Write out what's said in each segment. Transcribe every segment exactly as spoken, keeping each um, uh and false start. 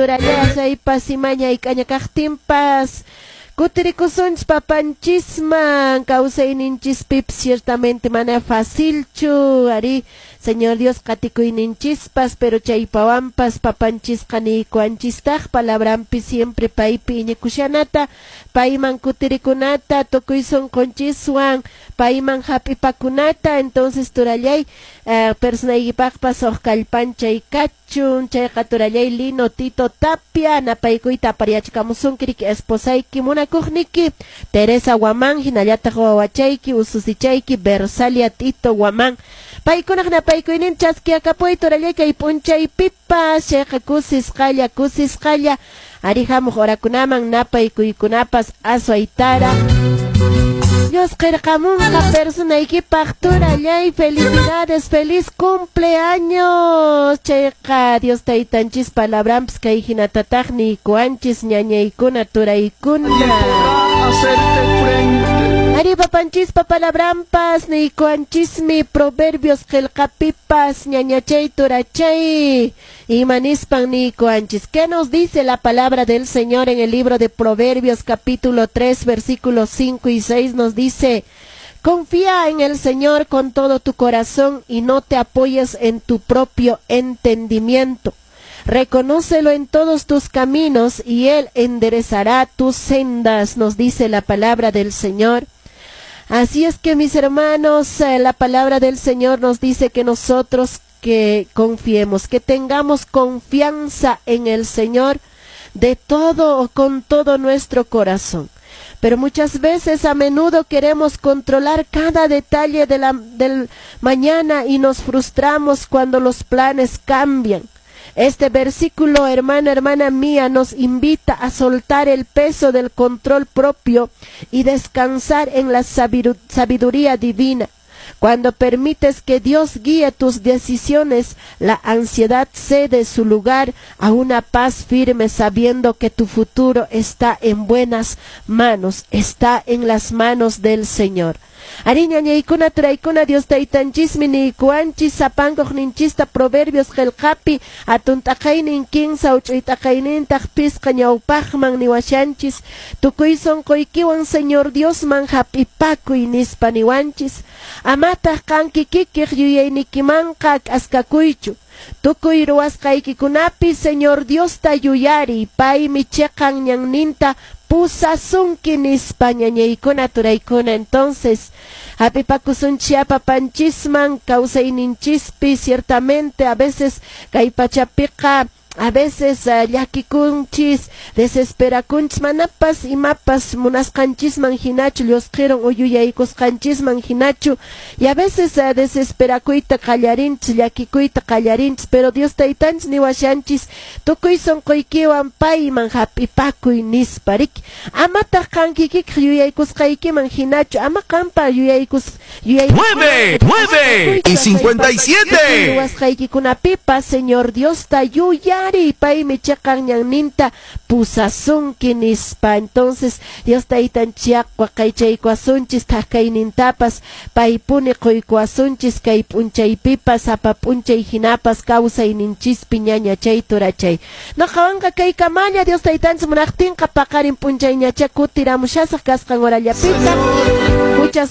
Turallasaypas imaña ik'aña kaqtinpas kutirikusunchis papanchisman kawsayninchispipas ciertamente mana facilchu ari Señor Dios qatikuyninchispas pero chaypawanpas papanchisqa niykuanchistaq palabranpi siempre paypi iñikushanata payman kutirikunata tukuy sunqunchiswan payman hap'ipakunata entonces turallay eh, personaykipaqpas uq kallpanchay kachun chayqa turallay Lino Tito Tapia napaykuyta apariyachikamusunki riki esposayki munakuqniki Teresa Guamán hinallataq wawachayki ususichayki Versalia Tito Guamán paykunaq napaykuynin chaskiakapuy turallay kay p'unchaypipas chayqa kusisqalla kusisqalla ari hamuq horakunaman napaykuykunapas aswaytara Dios qirqamunqa personaykipaq turallay felicidades feliz cumpleaños chayqa Dios taytanchis palabranpis kay hinatataq niykuanchis ñañaykuna turaykuna hacerte frente. Ari papanchispa palabrampas niykuanchismi proverbios qillqapipas ñañachay turachay imanispan niykuanchis. ¿Qué nos dice la palabra del Señor en el libro de Proverbios capítulo tres versículos cinco y seis? Nos dice: confía en el Señor con todo tu corazón y no te apoyes en tu propio entendimiento. Reconócelo en todos tus caminos y Él enderezará tus sendas, nos dice la palabra del Señor. Así es que, mis hermanos, la palabra del Señor nos dice que nosotros que confiemos, que tengamos confianza en el Señor de todo o con todo nuestro corazón. Pero muchas veces, a menudo queremos controlar cada detalle de la, del mañana y nos frustramos cuando los planes cambian. Este versículo, hermana, hermana mía, nos invita a soltar el peso del control propio y descansar en la sabiduría divina. Cuando permites que Dios guíe tus decisiones, la ansiedad cede su lugar a una paz firme, sabiendo que tu futuro está en buenas manos, está en las manos del Señor. Ariña ñaykuna turaykuna Dios taytanchismi niykuanchis sapankuq ninchista Proverbios qillqapi hatun t'aqaynin kinsa huch'uy t'aqaynintaq pisqa ñawpaqman niwashanchis tukuy sunquykiwan Señor Diosman hap'ipakuy nispa niwanchis amataq qan kikikiq yuyaynikimanqa k'askakuychu tukuy ruwasqaykikunapi Señor Diosta yuyariy paymi chiqan ñanninta pusasunki nispa ñañaykuna turaykuna. Entonces hap'ipakusunchis papanchisman kawsayninchispi ciertamente a veces kay pachapiqa a veces uh, llakikunchis desesperakunchis manapas imapas munasqanchisman hinachu llusqiron uyuyaykusqanchisman hinachu y a veces uh, desesperakuyta qallarinchis llakikuyta qallarinchis pero Dios taytanchis niwashanchis tukuy sunquykiwan payman hap'ipakuy nispa riki amataq qan kikikiq yuyaykusqaykiman hinachu ama qanpa yuyaykus yuyay nueve, nueve y cincuenta y siete ruwasqaykikunapipas Señor Diosta yuyay paymi chiqan ñanninta pusasunki nispa. Entonces Dios taytanchik waqaychaykuwasunchis thaqkaynintapas paypuni quykuwasunchis kay p'unchaypipas sapa p'unchay hinapas kawsayninchispi ñañachay turachay. Noqawanqa kay kamalla Dios taytanchis munaqtinqa paqarin p'unchayñacha kutiramushasaq kasqan horallapita. Muchas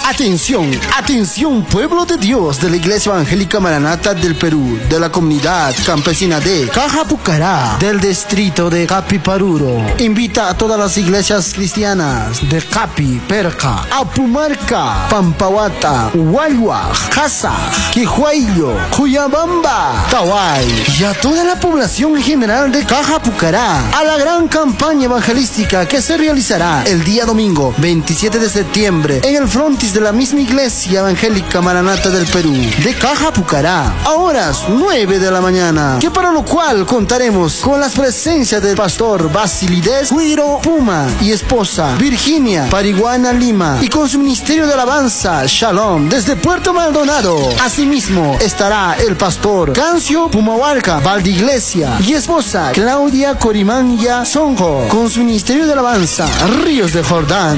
Atención, atención pueblo de Dios de la Iglesia Evangélica Maranata del Perú, de la comunidad campesina de Cajapucará, del distrito de Capiparuro. Invita a todas las iglesias cristianas de Capi, Perca, Apumarca, Pampawata, Hualhuaj, Casa, Quijuayo, Cuyabamba, Taway y a toda la población en general de Cajapucará a la gran campaña evangelística que se realizará el día domingo veintisiete de septiembre en el frontis de la misma Iglesia Evangélica Maranata del Perú, de Cajapucará, a horas nueve de la mañana, que para lo cual contaremos con las presencias del pastor Basilides Cuiro Puma y esposa Virginia Pariguana Lima, y con su ministerio de alabanza Shalom desde Puerto Maldonado. Asimismo estará el pastor Cancio Pumahuarca Valdiglesia y esposa Claudia Corimanya Sonjo con su ministerio de alabanza Ríos de Jordán.